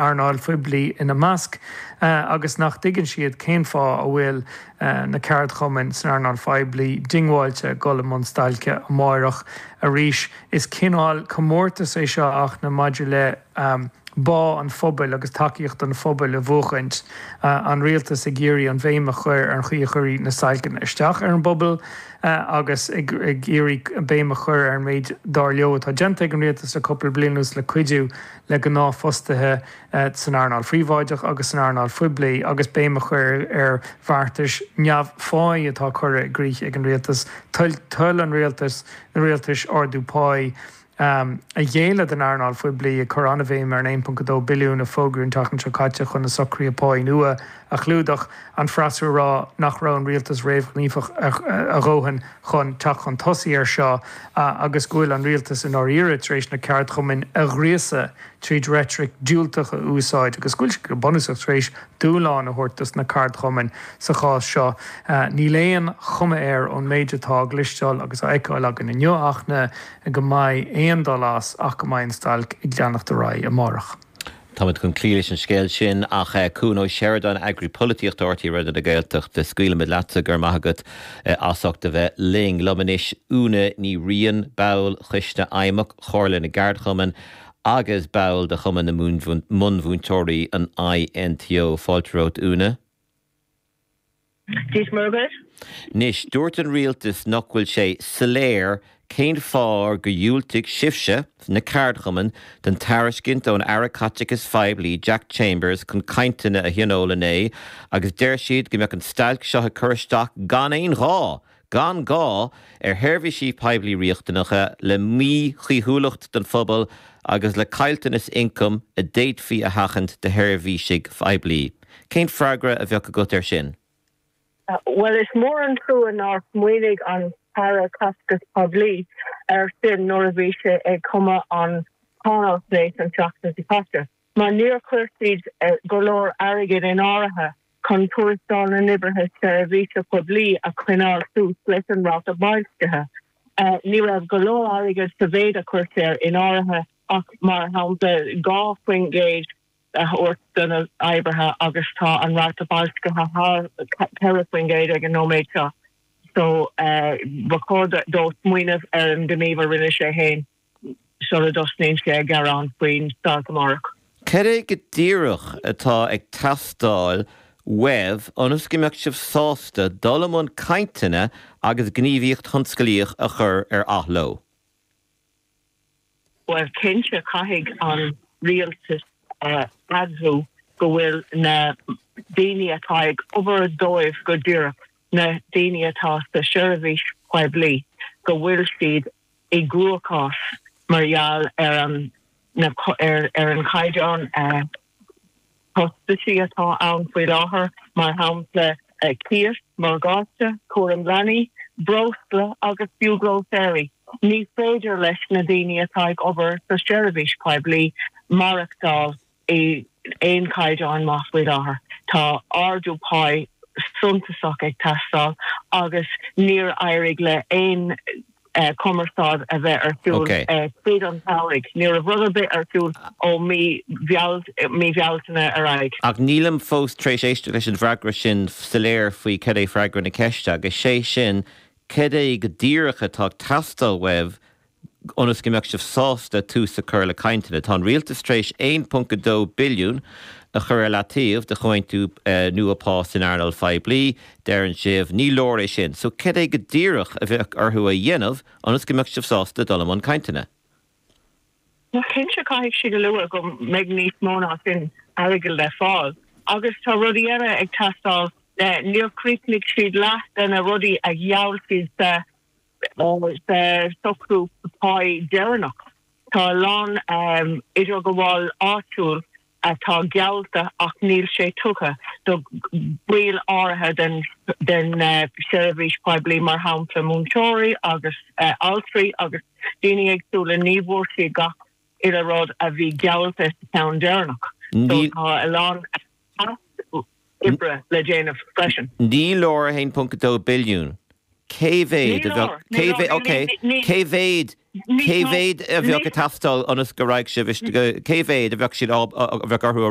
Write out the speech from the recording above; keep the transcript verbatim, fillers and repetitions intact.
earnáil phoiblí ina measc, agus nach dtuigeann siad cén fáth a bhfuil na ceardchumainn san earnáil phoiblí diongbháilte dul i mbun stailce amárach arís. Is cineál comórtas é seo ach na maidir le bá an phobail agus tacaíocht an phobail a bhuachaint, an rialtas ag iarraidh an bhéim a chur ar an chaoi a chuirfidh na stailceanna isteach ar an bpobal agus ag iarraidh béim a chur ar an méid dar leo atá déanta ag an rialtas le cúpla bliain anuas le cuidiú le gnáthfhostaithe san earnáil phríobháideach agus san earnáil phoiblí agus béim a chur ar bheartais neamhpháí atá curtha i gcrích ag an rialtas, toil an rialtais na rialtais ardú páí a ghéilleadh don earnáil phoiblí, ag cur an-bhéim ar an aon ponc a dó billiún a fógraíodh an tseachtain seo caite chun na socruithe páí nua a chlúdach, an freasúra ag rá nach raibh an rialtas réamhghníomhach a dhóthain chun teacht chun tosaigh air seo agus go bhfuil an rialtas i ndáiríre tar éis na ceardchumainn a ghríosadh tríd reitric diúltach a úsáid agus go bhfuil siad go bunúsach tar éis dúshlán a thabhairt dos na ceardchumainn sa chás seo. Níl aon chuma air ón méid atá á gcloisteáil agus á fheiceáil againn inniu ach na go mbeidh aon dul as ach go mbeidh an stailc ag leanacht ar aghaidh amárach. Táimid chun cloí leis an scéal sin ach Cuan Ó Seireadáin, Eagraí Polaitíochta R T É Raidió na Gaeltachta, scaoilfimid leatsa, go raibh maith agat as ucht a bheith linn. Liom anois Úna Ní Riain, ball Choiste Fheidhmeach Chomhairle na gCeardchumann agus ball de Chumann na Bunmhúinteoirí, an I N T O. Fáilte romhat, Úna. Dia Muire. Anois, dúirt an rialtas nach bhfuil sé soiléir cén fáth gur dhiúltaigh sibhse, na ceardchumainn, don tairiscint ón Aire Caiteachais Phoiblí Jack Chambers chun cainteanna a thionól inné agus deir siad go mbeadh an stailc seo ag cur isteach gan aon ghá, gan gá ar sheirbhísí poiblí riachtanacha, le míchaoithiúlacht don phobal agus le caillteanas ioncaim a d'fhéadfaí a sheachaint do sheirbhísigh phoiblí. Cén freagra a bheadh agat air sin? Well, is mór an trua nár smaoinigh an tAire Caiteachais Poiblí ar sin nuair a bhí sé ag cumadh an cháinaisnéis an tseachtain seo caite, mar níor chuir siad go leor airgid in áirithe chun tuarastal na n-oibrithe seirbhíse poiblí a choinneáil suas leis an ráta boilscithe. Ní raibh go leor airgid sa mhéid a chuir sé in áirithe ach, mar shampla, dhá faoin gcéad a thabhairt do na hoibrithe agus tá an ráta boilscithe thar ceithre faoin gcéad ag an nóiméad seo. So ba chóir dó smaoineamh ar an gníomh a rinne sé féin sula dtosnaíonn sé ag gearán faoin stailc amárach. Cad é go díreach atá ag teastáil uaibh ionas go mbeadh sibh sásta dul i mbun cainteanna agus gníomhaíocht thionsclaíoch a chur ar athló? Well, cinnte caithfidh an rialtas admháil go bhfuil na daoine atá ag obair dóibh go díreach, na daoine atá sa seirbhís poiblí, go bhfuil siad i gcruachás mar gheall ar an ar ar an chaighdeán costaisí atá ann faoi láthair, mar shampla cíos, morgáiste, cúram leanaí, breosla agus fiú grósaeirí. Ní féidir leis na daoine atá ag obair sa seirbhís poiblí maireachtáil i aon chaighdeán maith faoi láthair. Tá ardú páí suntasach ag teastáil agus níor éirigh le haon cumarsáid a bheith ar siúl tríd an samhradh. Ní raibh rud ar bith ar siúl ó mí mí Bhealtaine ar aghaidh. Ach nílim fós tar éis éisteacht leis an bhfreagra sin soiléir faoi cad é freagra na ceiste, agus sé sin cad é go díreach atá ag teastáil uaibh ionas go mbeadh sibh sásta tús a chur le cainteanna. Tá an rialtas tar éis aon ponc a dó billiún a chur ar leataobh do chomhaontú nua pá san earnáil phoiblí, deireann sibh, ní leor é sin. So cad é go díreach a bheadh orthu a dhéanamh ionas go mbeadh sibh sásta dul i mbun cainteanna? Cinnte caithfidh siad a lua go mbeidh níos mó ná sin airgead le fáil agus tá rudaí eile ag teastáil. Níor chríochnaigh siad leath de na rudaí a gheall siad sa sa socrú páí deireanach. Tá a lán idirghabháil áitiúil atá geallta ach níl sé tugtha do bhaill áirithe den den seirbhís poiblí, mar shampla múinteoirí agus altraí agus daoine éagsúla. Ní bhfuair siad gach uile rud a bhí geallta sa cheann deireanach. So tá a lán oibre le déanamh freisin. Ní leor a haon ponc a dó billiún. Cé mhéad a bheadh, cé mhéad, ok, cé mhéad Cé mhéad a bheadh ag teastáil ionas go raibh sibh cé mhéad a bheadh siad a bheadh orthu a